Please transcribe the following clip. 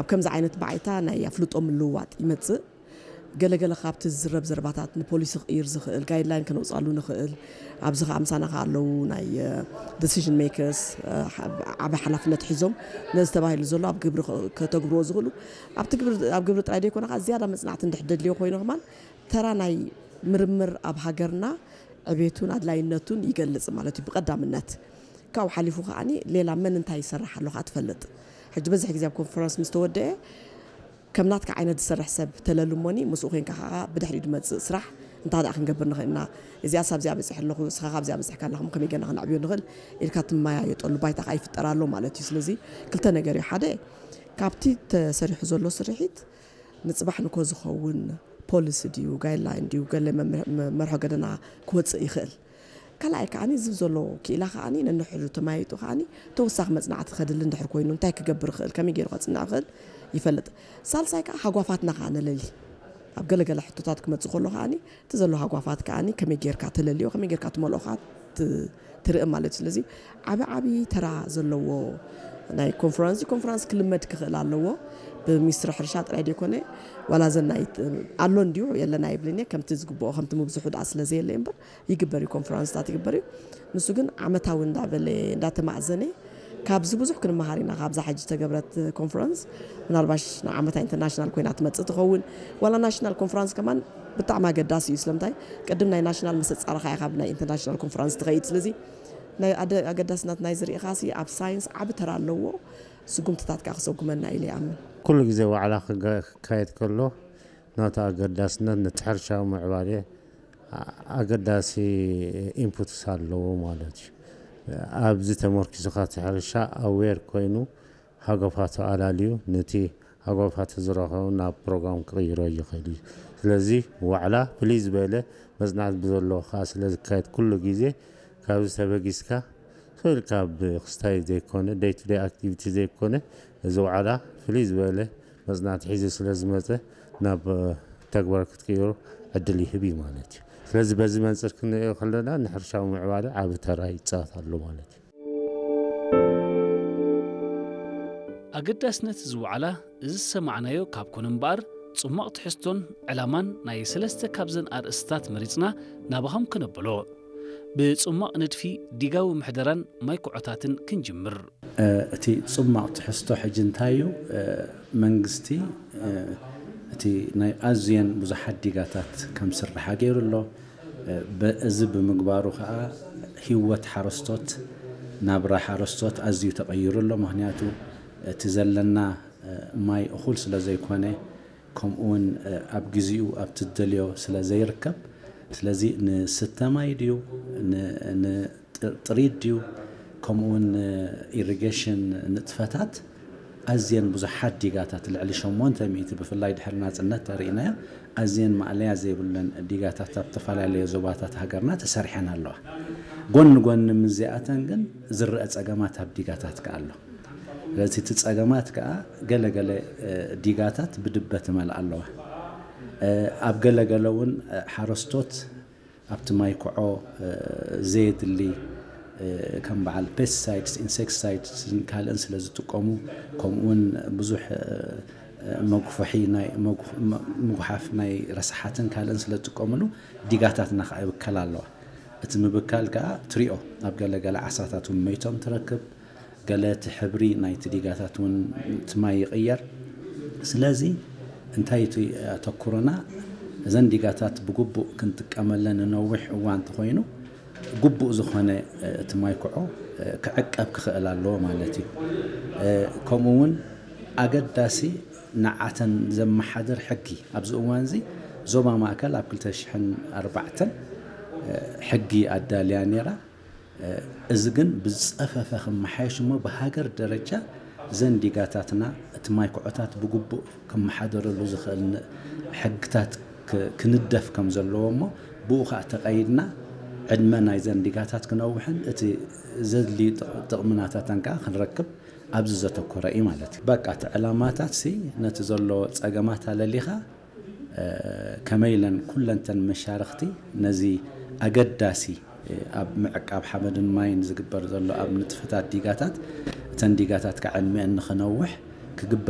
ኣብ ከምዚ ዓይነት ባዓይታ ናይ ኣፍልጦ ምልውዋጥ ይመጽእ። ገለገለ ካብቲ ዝዝረብ ዘረባታት ንፖሊሲ ክቕይር ዝኽእል ጋይድላይን ከነውፅኣሉ ንኽእል። ኣብዚ ከዓ ምሳና ከዓ ኣለዉ ናይ ዲሲዥን ሜከርስ፣ ዓብ ሓላፍነት ሒዞም ነዚ ተባሂሉ ዘሎ ኣብ ግብሪ ከተግብርዎ ዝኽእሉ። ኣብቲ ግብሪ ኣብ ግብሪ ጥራይ ዘይኮነ ከዓ ዝያዳ መፅናዕቲ እንድሕር ደድልዮ ኮይኑ ከማን ተራ ናይ ምርምር ኣብ ሃገርና ዕቤቱን ኣድላይነቱን ይገልጽ ማለት እዩ ብቐዳምነት። ካብኡ ሓሊፉ ከዓኒ ሌላ መን እንታይ ይሰርሕ ኣሎ ከዓ ትፈልጥ። ሕጂ በዝሕ ግዜ ኣብ ኮንፈረንስ ምስ ተወደአ ከም ናትካ ዓይነት ዝሰርሕ ሰብ ተለልሞኒ ምስኡ ኮንካ ከዓ ብድሕሪኡ ዝመፅእ ስራሕ እንታይ ደኣ ክንገብር ንኽእል ኢና፣ እዚኣ ሳብ እዚኣ በፂሐ ኣለኹ፣ እስኻ ካብ እዚኣ በፂሕካ ኣለኹም፣ ከመይ ገና ክነዕብዮ ንኽእል ኢልካ ትመያየጠሉ ባይታ ከዓ ይፍጠር ኣሎ ማለት እዩ። ስለዚ ክልተ ነገር እዩ። ሓደ ካብቲ ተሰሪሑ ዘሎ ስርሒት ንፅባሕ ንኮ ዝኸውን ፖሊሲ ድዩ ጋይድላይን ድዩ ገለ መርሖ ገደና ክወፅእ ይኽእል። ካልኣይ ከዓኒ ዝብ ዘሎ ክኢላ ከዓኒ ነንሕዱ ተማይጡ ከዓኒ ተወሳኺ መፅናዕቲ ከድሊ እንድሕር ኮይኑ እንታይ ክገብር ይኽእል ከመይ ገይሩ ከፅንዕ ይኽእል ይፈልጥ። ሳልሳይ ከዓ ሃጓፋትና ከዓ ነለሊ ኣብ ገለገለ ሕቶታት ክመፅእ ከሎ ከዓኒ እቲ ዘሎ ሃጓፋት ከዓኒ ከመይ ጌርካ ተለልዮ ከመይ ጌርካ ትመልኦ ከዓ ትርኢ ማለት እዩ። ስለዚ ዓቢ ዓቢ ተራ ዘለዎ ናይ ኮንፈረንስ ኮንፈረንስ ክልመድ ክኽእል ኣለዎ። ብሚኒስትሪ ሕርሻ ጥራይ ዘይኮነ ዋላ ዘናይ ኣሎ እንዲሁ የለና ይብልን እየ ከምቲ ዝግብኦ ከምቲ ምብዝሑ ደኣ ስለ ዘየለ እምበር ይግበር እዩ ኮንፈረንስታት ይግበር እዩ። ንሱ ግን ዓመታዊ እንዳበለ እንዳተማእዘነ ካብዚ ብዙሕ ክንመሃር ኢና። ካብዛ ሕጂ ዝተገብረት ኮንፈረንስ ምናልባሽ ንዓመታ ኢንተርናሽናል ኮይና ትመፅእ ትኸውን። ዋላ ናሽናል ኮንፈረንስ ከማን ብጣዕሚ ኣገዳሲ እዩ። ስለምንታይ ቅድም ናይ ናሽናል ምስ ኣፃረኻ ኢኻ ናብ ናይ ኢንተርናሽናል ኮንፈረንስ ትኸይድ። ስለዚ ናይ ኣገዳስነት ናይ ዝርኢኻሲ ኣብ ሳይንስ ዓቢ ተራ ኣለዎ። ስጉምትታት ከዓ ክሰጉመና ኢለ ይኣምን። ኩሉ ግዜ ዋዕላ ክካየድ ከሎ ናቱ ኣገዳስነት ነቲ ሕርሻዊ ምዕባለ ኣገዳሲ ኢንፑትስ ኣለዎ ማለት እዩ። ኣብዚ ተመርኪሱ እቲ ሕርሻ ኣዌር ኮይኑ ሃገፋቱ ኣላልዩ ነቲ ሃገፋቱ ዝረኸቡ ናብ ፕሮግራም ክቕይሮ ይኽእል እዩ። ስለዚ ዋዕላ ፍልይ ዝበለ መፅናዕቲ ብዘለዎ ከዓ ስለ ዝካየድ ኩሉ ግዜ ካብዚ ተበጊስካ ስቕ ኢልካ ብክስታይ ዘይኮነ ደይ ቱ ደይ ኣክቲቪቲ ዘይኮነ እዚ ዋዕላ ፍልይ ዝበለ መፅናዕቲ ሒዙ ስለ ዝመፀ ናብ ተግባር ክትቅይሮ ዕድል ይህብ እዩ ማለት እዩ። ስለዚ በዚ መንፅር ክንሪኦ ከለና ንሕርሻዊ ምዕባለ ዓቢ ተራ ይፃወት ኣሎ ማለት እዩ። ኣገዳስነት እዚ ዋዕላ እዚ ዝሰማዕናዮ ካብ ኮነ እምበኣር፣ ጽሟቕ ትሕዝቶን ዕላማን ናይ ሰለስተ ካብዘን ኣርእስትታት መሪጽና ናባኹም ከነብሎ። ብጽሟቕ ንድፊ ዲጋዊ ምሕደራን ማይ ኩዖታትን ክንጅምር። እቲ ጽሟቕ ትሕዝቶ ሕጂ እንታይ እዩ? መንግስቲ እቲ ናይ ኣዝየን ብዙሓት ዲጋታት ከም ስርሓ ገይሩ ኣሎ። እዚ ብምግባሩ ከዓ ህይወት ሓረስቶት ናብራ ሓረስቶት ኣዝዩ ተቐይሩ ኣሎ። ምክንያቱ እቲ ዘለና ማይ እኹል ስለ ዘይኮነ ከምኡ እውን ኣብ ግዚኡ ኣብቲ ዝደልዮ ስለ ዘይርከብ ስለዚ ንስተ ማይ ድዩ ጥሪት ድዩ ከምኡ እውን ኢሪጌሽን ንጥፈታት ኣዝየን ብዙሓት ዲጋታት ልዕሊ ሸሞንተ ሚእቲ ብፍላይ ድሕሪ ናፅነት ተርኢናዮ ኣዝየን ማእለያ ዘይብለን ዲጋታት ኣብ ዝተፈላለዩ ዞባታት ሃገርና ተሰሪሐን ኣለዋ። ጎኒ ጎኒ ምስዚኣተን ግን ዝረአ ፀገማት ኣብ ዲጋታት ከኣ ኣሎ። ስለዚ እቲ ፀገማት ከኣ ገለገለ ዲጋታት ብድበ ትመልኣ ኣለዋ። ኣብ ገለገለ እውን ሓረስቶት ኣብቲ ማይ ክዖ ዘየድሊ ከም በዓል ፔስቲሳይድስ፣ ኢንሴክቲሳይድስን ካልእን ስለ ዝጥቀሙ ከምኡ እውን ብዙሕ መጉፍሒ ናይ ምጉሓፍ ናይ ረሳሓትን ካልእን ስለ ዝጥቀምሉ ዲጋታትና ከዓ ይብከላ ኣለዋ። እቲ ምብካል ከዓ ትሪኦ ኣብ ገለገለ ዓሳታት እውን መይቶም ትረክብ። ገለ እቲ ሕብሪ ናይቲ ዲጋታት እውን እቲ ማይ ይቕየር። ስለዚ እንታይ እቲ ኣተኩሮና እዘን ዲጋታት ብግቡእ ክንጥቀመለን ንነዊሕ እዋን እንተኾይኑ ግቡእ ዝኾነ እቲ ማይ ክዖ ክዕቀብ ክኽእል ኣለዎ ማለት እዩ። ከምኡ እውን ኣገዳሲ ንዓተን ዘመሓድር ሕጊ ኣብዚ እዋን እዚ ዞባ ማእከል ኣብ ክልተ ሽሕን ኣርባዕተን ሕጊ ኣዳልያ ነይራ። እዚ ግን ብዝፀፈፈ ክመሓየሽ እሞ ብሃገር ደረጃ እዘን ዲጋታትና እቲ ማይ ኩዖታት ብግቡእ ክመሓደረሉ ዝኽእል ሕግታት ክንደፍ ከም ዘለዎ እሞ ብኡ ከዓ ተቐይድና ዕድመ ናይዘን ዲጋታት ክነውሕን እቲ ዘድልዩ ጥቕሚ ናታተን ከዓ ክንረክብ ኣብዚ ዘተኮረ እዩ ማለት እዩ። በቃ እቲ ዕላማታት ሲ ነቲ ዘሎ ፀገማት ኣለሊኻ ከመይ ኢለን ኩለንተን መሻርኽቲ ነዚ ኣገዳሲ ኣብ ምዕቃብ ሓመድን ማይን ዝግበር ዘሎ ኣብ ንጥፈታት ዲጋታት እተን ዲጋታት ከዓ ዕድሚአን ንኽነውሕ ክግበር